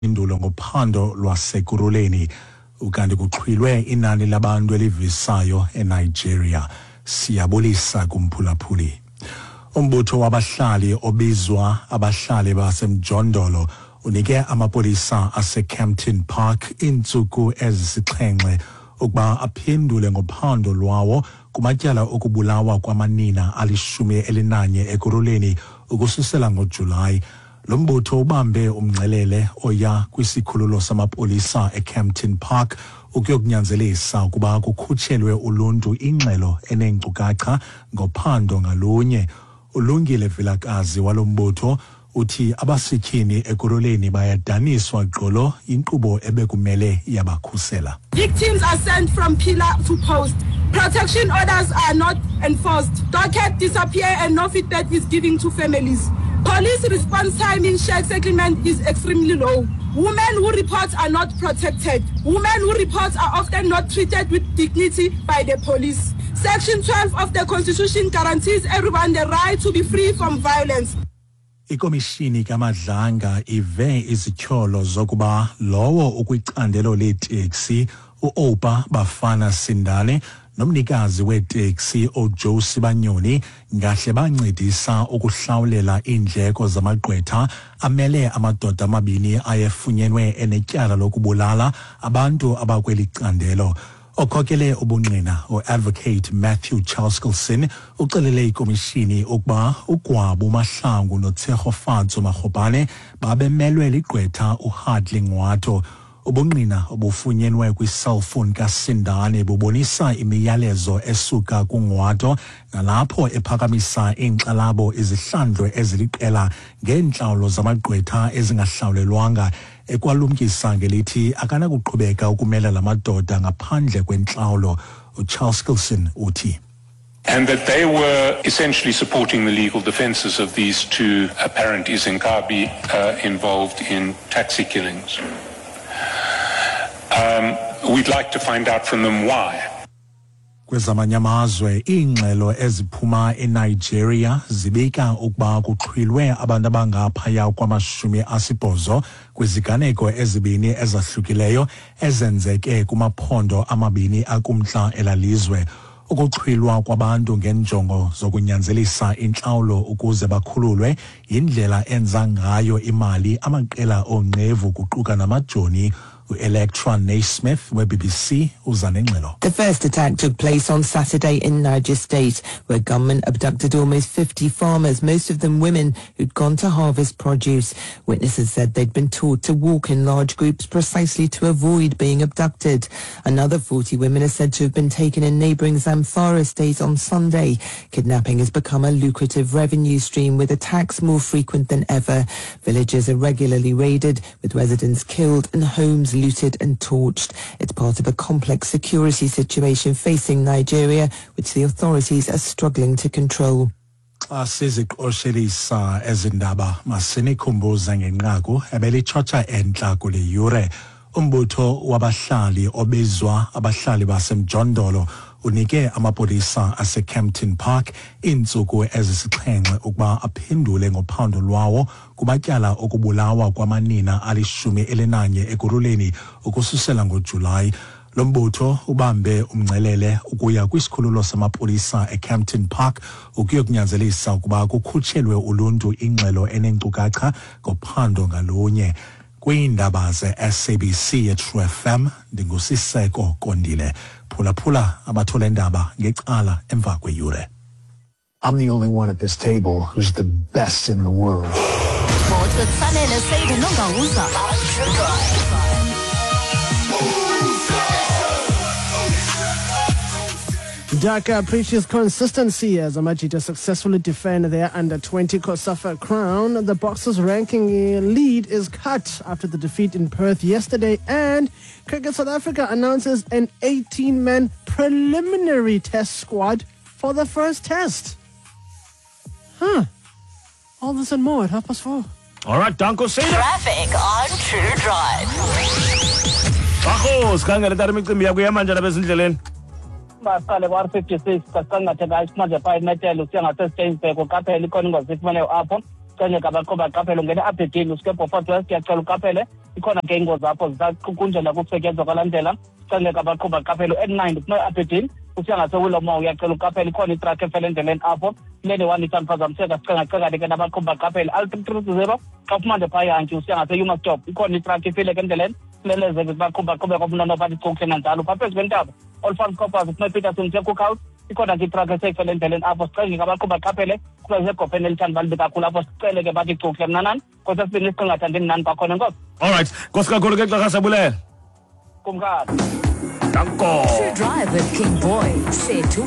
Indulo ngophando lwasekuruleni ukanti kuxhwilwe inani labantu elivisayo eNigeria. Siyabulisa kumphulaphuli. Umbutho wabahlali obizwa abahlali baseMjondolo unike amapolisa aseKempton Park iintsuku ezisixhenxe ukuba aphendule ngophando lwawo kumatyala okubulawa kwamanina 11 ekuruleni ukususela ngoJulayi. Lo mbutho ubambe umngcelele oya kwisikhululo samapolisa eKempton Park ukuyokunyanzelisa ukuba kukhutshelwe uluntu ingxelo eneenkcukacha ngophando ngalunye. Ulungile Vilakazi walo mbutho uthi abasetyhini ekuruleni bayadaniswa gqolo inkqubo ebekumele yabakhusela. Victims are sent from pillar to post. Protection orders are not enforced. Docket disappear and no feedback is given to families. Police response time in shared settlement is extremely low. Women who report are not protected. Women who report are often not treated with dignity by the police. Section 12 of the Constitution guarantees everyone the right to be free from violence. Ikomishini kaMadlanga ive izityholo zokuba lowo ukwicandelo leeteksi uOpa Bafana Sindane nomnikazi weeteksi uJoe Sibanyoni ngahle bancedisa ukuhlawulela iindleko zamagqwetha amele amadoda amabini ayefunyenwe enetyala lokubulala abantu abakweli candelo. Okhokele ubungqina uAdvocate Matthew Chaskalson uxelele ikomishini ukuba uGwabu Mahlangu noTshegofatso Magopane babemelwe ligqwetha uHardley Ngwato. Ubungqina obufunyenwe kwiselfowuni kaSindane bubonisa imiyalezo esuka kuNgwato nalapho ephakamisa iinkxalabo izihlandlo eziliqela ngeentlawulo zamagqwetha ezingahlawulelwanga, ekwalumkisa ngelithi akanakuqhubeka ukumela la madoda ngaphandle kwentlawulo. UChaskalson uthi And that they were essentially supporting the legal defenses of these two apparent Izinkabi involved in taxi killings. We'd like to find out from them why. Kwezamanye amazwe, iingxelo eziphuma eNigeria zibika ukuba kuxhwilwe abantu abangaphaya kwama-80 kwiziganeko ezibini ezahlukileyo ezenzeke kumaphondo amabini akumntla elalizwe. Ukuxhwilwa kwabantu ngenjongo zokunyanzelisa intlawulo ukuze bakhululwe yindlela enza ngayo imali amaqela oonqevu kuquka namajoni. U-Electra Naismith we-BBC uza nengxelo. The first attack took place on Saturday in Niger State, where gunmen abducted almost 50 farmers, most of them women who'd gone to harvest produce. Witnesses said they'd been taught to walk in large groups precisely to avoid being abducted. Another 40 women are said to have been taken in neighbouring Zamfara State on Sunday. Kidnapping has become a lucrative revenue stream, with attacks more frequent than ever. Villages are regularly raided, with residents killed and homes looted and torched. It's part of a complex security situation facing Nigeria, which the authorities are struggling to control. Xa siziqoshelisa ezi ndaba, masinikhumbuze ngenqaku ebelitshotsha entla kule yure. Umbutho wabahlali obizwa abahlali baseMjondolo unike amapolisa aseKempton Park iintsuku ezisixhenxe ukuba aphendule ngophando lwawo kumatyala okubulawa kwamanina 11 ekuruleni ukususela ngoJulayi. Lo mbutho ubambe umngcelele ukuya kwisikhululo samapolisa eKempton Park ukuyokunyanzelisa ukuba kukhutshelwe uluntu ingxelo eneenkcukacha ngophando ngalunye. Kwiindaba ze-SABC yeTrue FM, ndinguSiseko Kondile. Phulaphula abathole ndaba ngecala emva kweyure. I'm the only one at this table who's the best in the world. Sports with Sanele Seide Nongawuza. Dhaka preaches consistency as Amajita successfully defend their under-20 COSAFA crown. The Boxers' ranking lead is cut after the defeat in Perth yesterday, and Cricket South Africa announces an 18-man preliminary test squad for the first test. Huh. All this and more at 4:30. All right, Danko Seda. Traffic on True Drive. Bakho, sikhangele tata imicimbi yakho ihamba njani apha ezindleleni? Baqale kwa-R56 kasangathe kayisimanje phaa imetele usiya ngaseSteynsburg, uqaphela ikhona ingozi ifumeneyo apho. Sicengeka abaqhubi baqaphele. Ungena e-Aberdeen usuke eBeaufort West, uyacela uqaphele, ikhona ke ingozi apho zisaqukunjelwa kukusetyenzwa kwalaa ndlela. Sicengeka abaqhubi baqaphele. U-N9 uphuma e-Aberdeen usiya ngaseWillowmore, uyacela uqaphele, ikhona itrakhi efele endleleni apho. Lane 1 ithandiphazamiseka, sicengacengane ke nabaqhubi baqaphele. L330 xa uphuma phaa Yantyi usiya ngase-Yuma Stop, ikhona itrakhi ifile ke endleleni. Leleze baqhubi baqhube kwabunona bathi cukuhle nanjalo. Phaa phezu kwentaba Olifants Coppers uphuma ePeterson usiya Cookhouse, ikhona ke itrakhi eseyifele endleleni apho. Sicenge ke abaqhubi baqaphele kuba isegopheni elithanda balibi kakhulu apho. Sicele ke bathi cukuhle mnanani kosesibini isiqingatha ndimnani kwakhona. Enkosi. All right, nkosi kakhulu ke Xarha, siyabulela. Kumkani. Danko. True Drive with King Boy. Sethu.